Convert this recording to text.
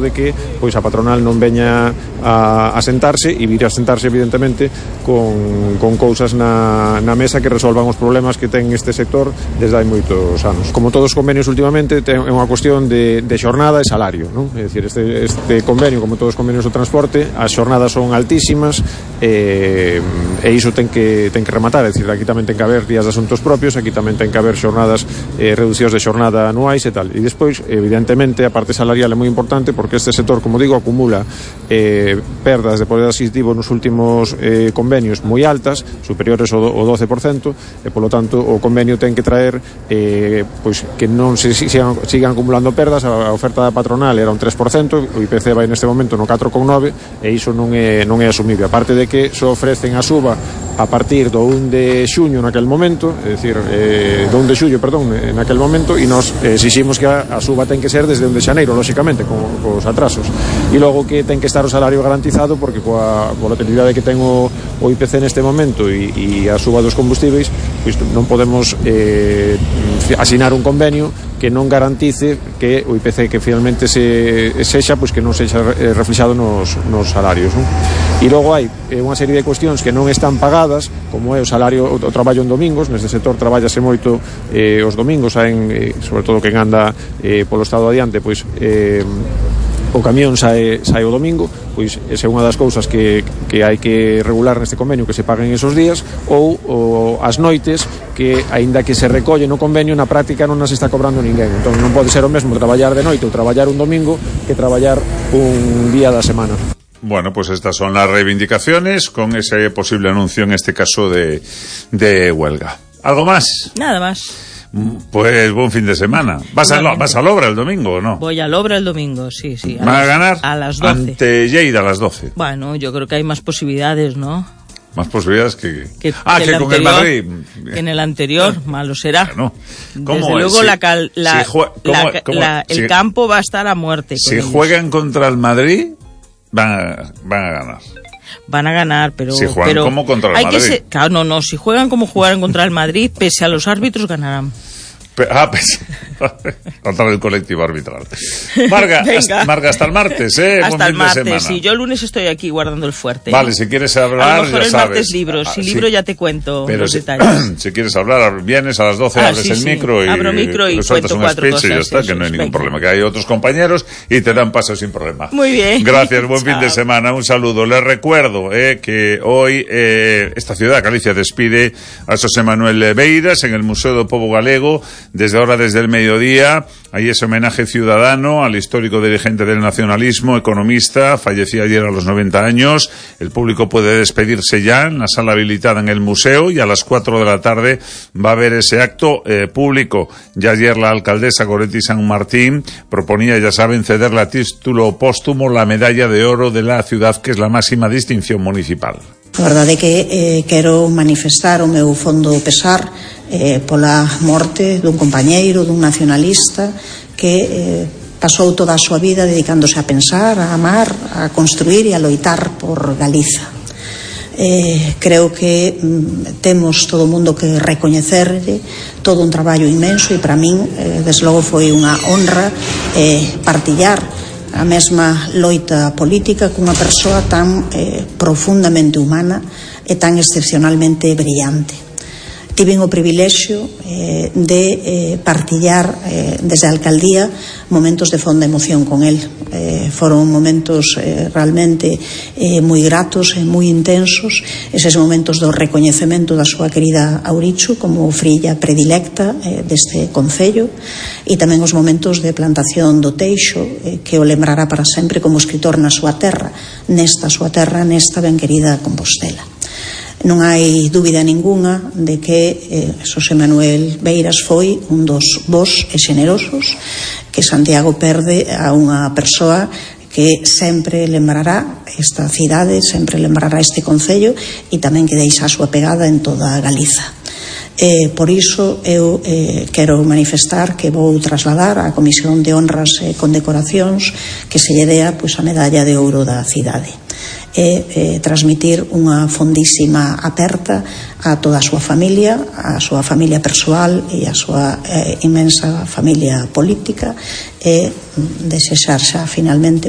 de que pois a patronal non veña a sentarse e vir a sentarse evidentemente con cousas na mesa que resolvan os problemas que ten este sector desde hai moitos anos. Como todos os convenios últimamente é unha cuestión de xornada e salario, non? É dicir, este convenio, como todos os convenios do transporte, as xornadas son altísimas e iso ten que rematar. É dicir, aquí tamén ten que haber días de asuntos propios, aquí tamén ten que haber xornadas reducicións de xornada anuais e tal. E despois, evidentemente, a parte salarial é moi importante porque este sector, como digo, acumula perdas de poder adquisitivo nos últimos convenios moi altas, superiores ao 12%, e polo tanto o convenio ten que traer pois que non se sigan acumulando perdas. A oferta da patronal era un 3%, o IPC vai neste momento no 4,9%, e iso non é asumible. Aparte de que só ofrecen a suba a partir do 1 de xuño naquel momento, é dicir, do 1 de xullo, perdón, naquel momento, e nos exiximos que a suba ten que ser desde 1 de xaneiro, lóxicamente, cos atrasos. E logo que ten que estar o salario garantizado, porque coa volatilidade que ten o IPC neste momento e a suba dos combustíveis, pois non podemos asinar un convenio que non garantice que o IPC que finalmente sexa, pois que non sexa reflexado nos salarios, non? E logo hai unha serie de cuestións que non están pagadas, como é o salario, o traballo en domingos. Neste sector traballase moito os domingos, sobre todo quen anda polo estado adiante, pois o camión sae o domingo, pois esa é unha das cousas que hai que regular neste convenio, que se paguen esos días, ou as noites, que aínda que se recolle no convenio, na práctica non nas está cobrando ninguén. Entón non pode ser o mesmo traballar de noite ou traballar un domingo que traballar un día da semana. Bueno, pues estas son las reivindicaciones con ese posible anuncio, en este caso de huelga. ¿Algo más? Nada más. Pues buen fin de semana. ¿Vas al Obra el domingo o no? Voy al Obra el domingo, sí. ¿Van a ganar? A las 12. Ante Lleida a las 12. Bueno, yo creo que hay más posibilidades, ¿no? Más posibilidades que con el Madrid. Que en el anterior, malo será. Bueno, desde luego el campo va a estar a muerte. Si juegan contra el Madrid, van a ganar. Van a ganar, pero... Si juegan como contra el Madrid. Claro, no, si juegan como jugaron contra el Madrid, pese a los árbitros, ganarán. Contra el colectivo arbitral. Marga, hasta el martes, Hasta el martes, sí. Yo el lunes estoy aquí guardando el fuerte. Vale, si quieres hablar, a lo mejor ya el sabes. Martes libro, si libro ya te cuento pero los detalles. Si quieres hablar, vienes a las 12, abres el micro y abro micro y sueltas cuento un speech cosas, y ya está, que no hay ningún problema. Que hay otros compañeros y te dan paso sin problema. Muy bien. Gracias, buen fin de semana, un saludo. Les recuerdo que hoy esta ciudad, Galicia, despide a Xosé Manuel Beiras en el Museo do Pobo Galego, desde el mediodía. Hay ese homenaje ciudadano al histórico dirigente del nacionalismo, economista, falleció ayer a los 90 años. El público puede despedirse ya en la sala habilitada en el museo, y a las 4 de la tarde va a haber ese acto público. Ya ayer la alcaldesa Goretti San Martín proponía, ya saben, cederle a título póstumo la medalla de oro de la ciudad, que es la máxima distinción municipal. A verdade é que quero manifestar o meu fondo pesar pola morte dun compañeiro, dun nacionalista que pasou toda a súa vida dedicándose a pensar, a amar, a construir e a loitar por Galiza. Creo que temos todo o mundo que recoñecerlle todo un traballo inmenso, e para min desde logo foi unha honra partillar a mesma loita política cunha persoa tan profundamente humana e tan excepcionalmente brillante. Tiven o privilexio de partillar desde a alcaldía momentos de fonda emoción con el. Foron momentos realmente moi gratos e moi intensos, eses momentos do recoñecemento da súa querida Aurichu como frilla predilecta deste concello, e tamén os momentos de plantación do Teixo, que o lembrará para sempre como escritor na súa terra, nesta ben querida Compostela. Non hai dúbida ningunha de que Xosé Manuel Beiras foi un dos bos e xenerosos, que Santiago perde a unha persoa que sempre lembrará esta cidade, sempre lembrará este concello, e tamén que deixa a súa pegada en toda Galiza. Por iso eu quero manifestar que vou trasladar á Comisión de Honras e Condecoracións que se lle dea a medalla de ouro da cidade, e transmitir unha fondísima aperta a toda a súa familia persoal e a súa inmensa familia política, e desexar xa finalmente